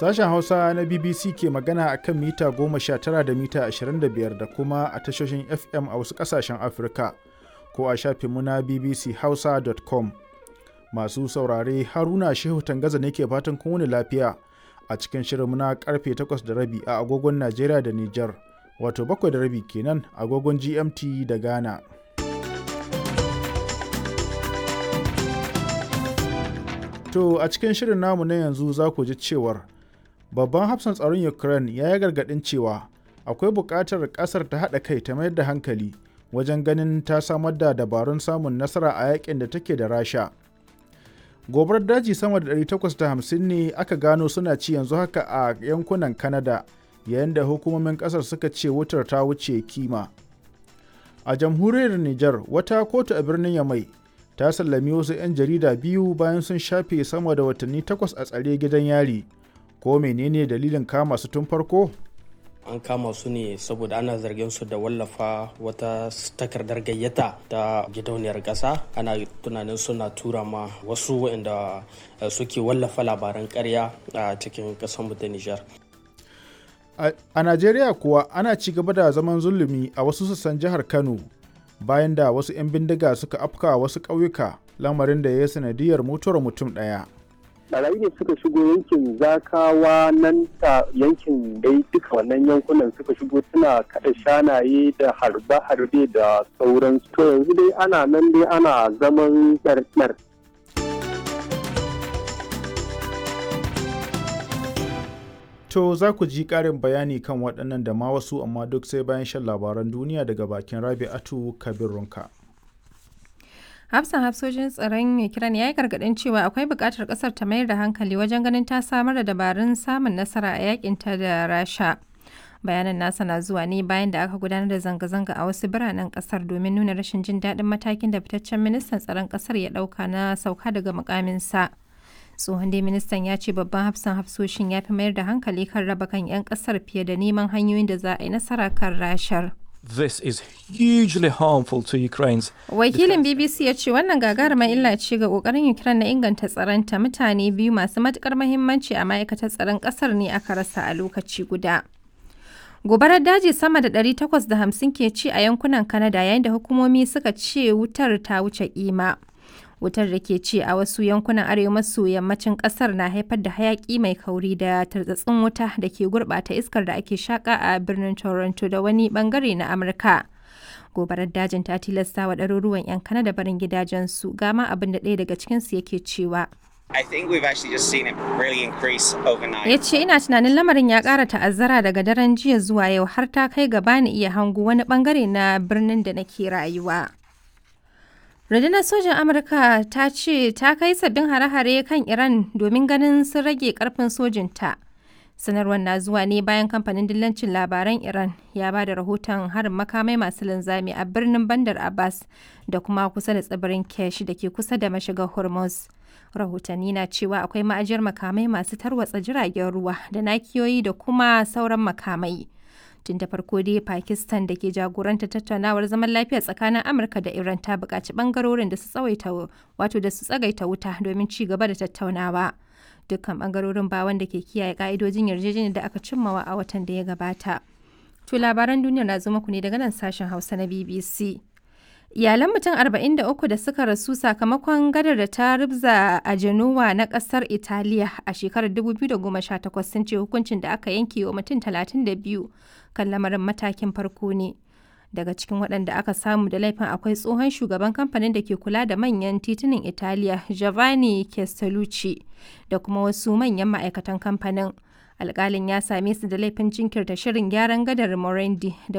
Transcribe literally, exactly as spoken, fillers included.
Sashen Hausa na B B C ke magana a kan mita goma sha tara da mita ashirin da biyar da kuma a tashoshin F M a wasu ƙasashen Afirka ko a shafinmu na B B C Hausa dot com. Masu saurare, Haruna Shehu Tangaza ne ke fatan kun wuni lafiya a cikin shirinmu na karfe takwas da rabi a agogon Najeriya da Nijar, wato bakwai da rabi kenan agogon G M T da Ghana. To a cikin shirin namu na yanzu za ku ji cewar babban hafsan tsaron Ukraine ya yi gargaɗin cewa akwai buƙatar ƙasar ta haɗa kai ta mayar da hankali wajen ganin ta samar da dabarun samun nasara a yakin da take da Rasha. Gobarar daji sama da ɗari takwas da hamsin ne aka gano suna ci yanzu haka a yankunan Canada, yayin da hukumomin ƙasar suka ce wutar ta wuce kima. A jamhuriyar Nijar, wata kotu a birnin Yamai ta sallami wasu 'yan jarida biyu bayan sun shafe sama da watanni takwas a tsare gidan yari. Ko menene dalilin kama su tun farko? An kama su ne saboda ana zargin su da wallafa wata takardar gayyata ta gidauniyar ƙasa. Ana tunanin suna tura ma wasu waɗanda suke wallafa labaran ƙarya a cikin ƙasar mu ta Nijar. A Najeriya kuwa, ana ci gaba da zaman zulumi a wasu sassan jihar Kano bayan da wasu 'yan bindiga suka afka wasu ƙauyuka, lamarin da ya yi sanadiyar mutuwar mutum ɗaya. Barayi ne suka shigo yankin Zakawa nan ta yankin dai, duka wannan yankunan suka shigo suna kada shanaye da harbe-harbe da sauran. To yanzu dai ana nan dai ana zaman ɗarɗar. To za ku ji ƙarin bayani kan waɗannan da ma wasu, amma duk sai bayan shan labaran duniya daga bakin Rabi'atu Kabir Runka. Hafsan hafsoshin tsaron Ukraine ya yi gargaɗin cewa akwai buƙatar ƙasar ta mayar da hankali wajen ganin ta samar da dabarun samun nasara a yakinta da Rasha. Bayanan nasa na zuwa ne bayan da aka gudanar da zanga-zanga a wasu biranen ƙasar domin nuna rashin jin daɗin matakin da fitaccen ministan tsaron ƙasar ya ɗauka na sauka daga mukaminsa. Tsohon dai ministan ya ce babban hafsan hafsoshin ya fi mayar da hankali kan raba kan 'yan ƙasar fiye da neman hanyoyin da za a yi nasara kan Rashar. This is hugely harmful to Ukraine's. Wakilin B B C ya ce wannan gagarumar illa ce ga kokarin Ukraine na inganta tsaronta. Mutane biyu masu matukar mahimmanci a ma'aikatar tsaron kasar ne aka rasa a lokaci guda. Gobarar daji sama da ɗari takwas da hamsin ke ci a yankunan Canada, yayin da hukumomi suka ce wutar ta wuce kima. Wutar da ke ci a wasu yankunan arewa maso yammacin kasar na haifar da hayaki mai kauri da tartsatsin wuta da ke gurbata iskar da ake shaka a birnin Toronto da wani bangare na Amurka. Gobarar dajin ta tilasta wa ɗaruruwan 'yan Kanada barin gidajensu. Gama abin da ɗaya daga cikinsu yake cewa. I think we've actually just seen it really increase overnight. Ya ce ina tunanin lamarin ya ƙara ta'azzara daga daren jiya zuwa yau, har ta kai gaba ni iya hango wani bangare na birnin da nake rayuwa. Rundunar sojan Amurka ta ce ta kai sabbin hare-hare kan Iran domin ganin sun rage karfin sojinta. Sanarwar na zuwa ne bayan kamfanin dillancin labaran Iran ya ba da rahoton harin makamai masu linzami a birnin Bandar Abbas da kuma kusa da tsibirin Kesh da ke kusa da mashigar Hormuz. Rahotanni na cewa akwai ma'ajiyar makamai masu tarwatsa jiragen ruwa da nakiyoyi da kuma sauran makamai. Tun da farko dai Pakistan da ke jagoranta tattaunawar zaman lafiya tsakanin Amurka da Iran ta buƙaci ɓangarorin da su tsawaita, wato da su tsagaita wuta domin ci gaba da tattaunawa. Dukkan ɓangarorin ba wanda ke kiyaye ka'idojin yarjejeniyar da aka cimmawa a watan da ya gabata. To labaran duniya na zo muku ne daga nan sashen Hausa na B B C. Iyalan mutum arba'in da uku da suka rasu sakamakon gadar da ta rubza a Genoa na kasar Italiya a shekarar dubu biyu da goma sha takwas sun ce hukuncin da aka yanke wa mutum talatin da biyu kan lamarin matakin farko ne. Daga cikin waɗanda aka samu da laifin akwai tsohon shugaban kamfanin da ke kula da manyan titunan Italiya, Giovanni Castellucci, da kuma wasu manyan ma'aikatan kamfanin. Alƙalin ya same su da laifin jinkirta shirin gyaran gadar Morandi da